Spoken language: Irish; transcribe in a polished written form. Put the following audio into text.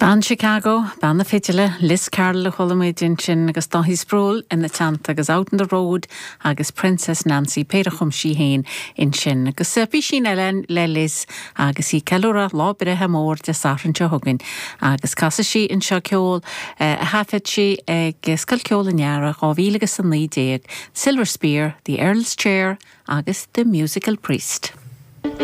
Bean Chicago, bean na fidile, Liz Carroll a chuala muid ansin agus Dáithí Sproule ina teannta agus Out on the Road agus Princess Nancy, péire a chum sí féin ansin. Agus písín eile le Liz agus í ag ceiliúradh lá breithe mór Dé Sathairn seo chugainn agus casfaidh sí anseo ceol a thaifead sí ag Scoil Ceoil an Earraigh 2019, Silver Spear, The Earl's Chair agus The Musical Priest.